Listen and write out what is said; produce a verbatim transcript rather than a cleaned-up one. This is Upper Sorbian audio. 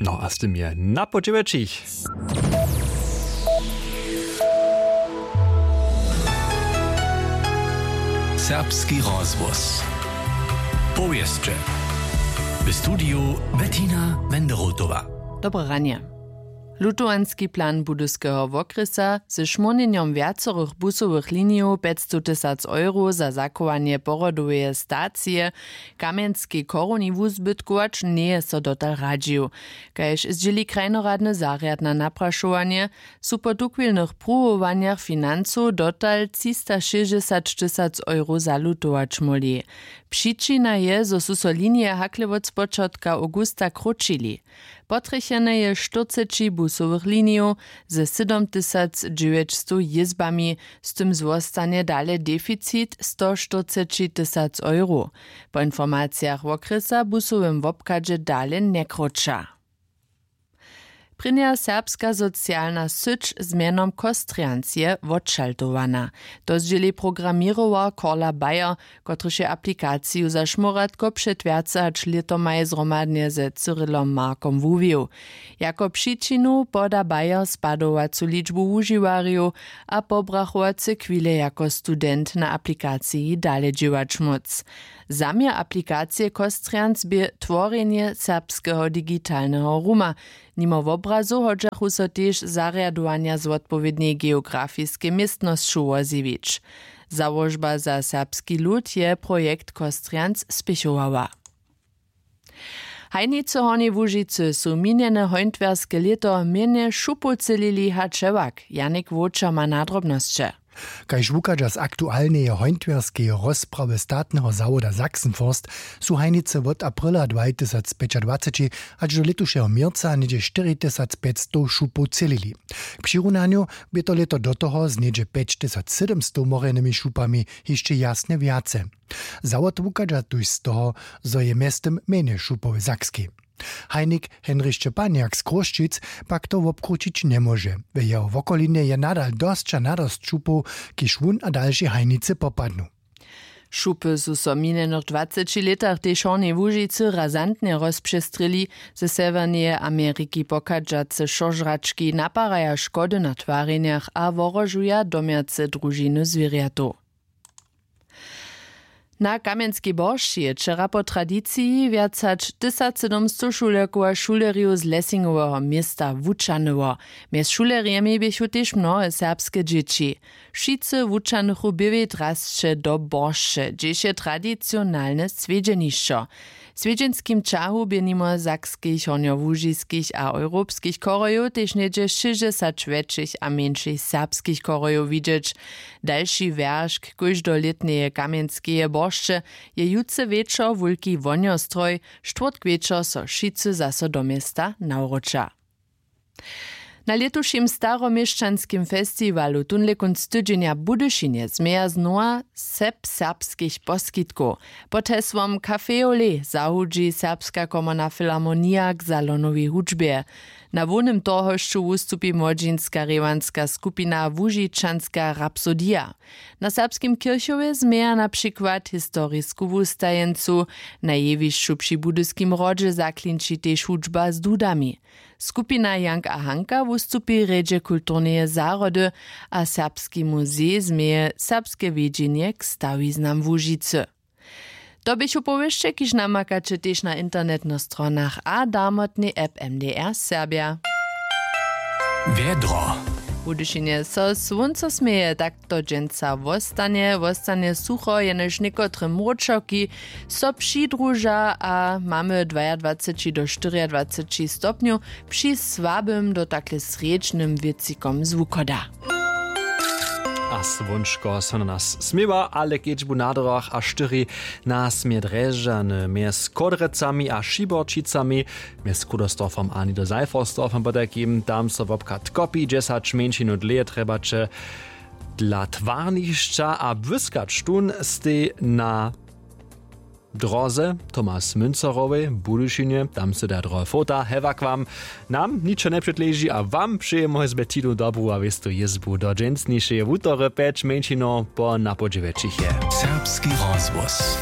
No a z tym je na podźěłećich. Serbski rozhłos. Powěsće. W studiju Bettina Wenderotowa. Dobre ranje. Lutowanski plan Budyskeho wokrjesa ze šmórnjenjom wjacorych busowych linijow pjećstow tysac euro za zachowanje porodoweje stacije w Kamjenskej chorowni wuzbytkować njeje so dotal radźił. Kaž zdźěli krajnoradny zarjad na naprašowanje, su po tuchwilnych pruwowanjach financow dotal třistašěsćdźesat tysac euro zalutować móhli. Přičina je, zo su so linije hakle wot spočatka awgusta krótšili. Potrjechene je štyrceći busowych linijow ze sydomtysacdźewjećstow jězbami, z tym zwostanje dale deficit stoštyrceći tysac euro. Po informacijach wokrjesa w busowym wobchadźe dale njekrótša. Prěnja serbska socialna syć z mjenom Kostrjans je wotšaltowana. To zdźěli programěrował Korla Bayer, kotryž je aplikaciju za šmóratko před wjace hač lětomaj zhromadnje ze Cyrilom Markom wuwił. Jako přičinu poda Bayer spadowacu ličbu wužiwarjow a pobrachowace chwile jako student na aplikaciji dale dźěłać móc. Zaměr aplikacije Kostrjans bě tworjenje serbskeho digitalneho ruma. Nimo wobrazow hodźachu so tež zarjadowanja z wotpowědnej geografiskej městnosću wozjewić. Załožba za serbski lud je projekt Kostrjans spěchowała. Hajnicy w Hornjej Łužicy su minjene hońtwerske lěto mjenje šupow třělili hač hewak. Janik Wowčer ma nadrobnosće. Kaž wuchadźa z aktualneje hońtwerskeje rozprawy statneho zawoda Sachsenforst, su hajnicy wot aprila dwatysacpjećadwaceći hač do lětušeho měrca něhdźe štyri tysac pjećstow šupow třělili. K přirunanju bě to lěto do toho z něhdźe pjećtysacsydomstow morjenymi šupami hišće jasnje wjace. Zawod wuchadźa tuž z toho, zo je mjeztym mjenje šupow w Sakskej. Hajnik Henrich Šćepanjak z Chrósćic pak to wobkrućić njemóže. W jeho wokolinje je nadal dosć a nadosć šupow, kiž wón a dalši hajnicy popadnu. Šupy su so w minjenych dwaceći lětach tež w Hornjej Łužicy razantnje rozpřestrěli. Ze sewjerneje Ameriki pochadźace šožrački naparaja škody na twarjenjach a wohrožuja domjace družiny zwěrjatow. Na Kamjenskej boršći je wčera po tradiciji wjac hač tysacsydomstow šulerkow a šulerjow z Lessingoweho města wućahnyło. Mjez šulerjemi běchu tež mnohe serbske dźěći. Wšitcy wućahnychu běłej drasće do boršće, hdźež je tradicionalne swjedźenišćo. W swjedźenskim ćahu bě nimo sakskich, hornjołužiskich a europskich chorojow tež něhdźe šěsćdźesat wjetšich a mjeńšich serbskich chorojow widźeć. Dalši wjeršk kóždolětneje kamjenskeje boršće je jutře wječor wulki wonjostroj. Štwórtk wječor so wšitcy zaso do města nawróća. Na lětušim staroměšćanskim festiwalu tónle kónc tydźenja w Budyšinje změja znowa sep serbskich poskitkow. Pod hesłom Café Olé zahudźi Serbska komorna filharmonija k salonowej hudźbje. Na hłownym torhošću wustupi młodźinska rěwanska skupina Łužičanska rapsodija. Na Serbskim kěrchowje změja na přikład historisku wustajeńcu. Na jewišću při Budyskim hrodźe zaklinči tež hudźba z dudami. Skupina Jank a Hanka wustupi w rjedźe kulturneje zahrody a Serbski muzej změje serbske wjedźenje k stawiznam Łužicy. To běchu powěsće, kiž namakaće tež na internetnych stronach a darmotnej app M D R Serbja. Wjedro. W Budyšinje so słónco směje, tak to dźensa wostanje, wostanje sucho, jenož někotre mróčerki so přidruža a mamy dwajadwaceći do štyriadwaceći stopnjow při słabym do takle srjedźnym wětřikom z wuchoda. A słónčko so na nas směwa, ale kedźbu na drogach a štyri nas mje Drježdźany mjez Chódrjecami a Šiborčicami, mjez Kudostorfom a Niederseiffersdorfom potajkim, tam so wobchad kopi, dźesać mjeńšinu dlěje trjebaće dla twarnišća a błyskać tón stej na dróze Thomas Münzerowej w Budyšinje, tam sy da drohe fota. Hewak wam, nam ničo njepřetleži a wam přejemy z Bettinu dobru a wěstu jězbu do dźensnišeje wutory. Pjeć mjeńšinow po napodźěwjećich je Serbski rozhłos.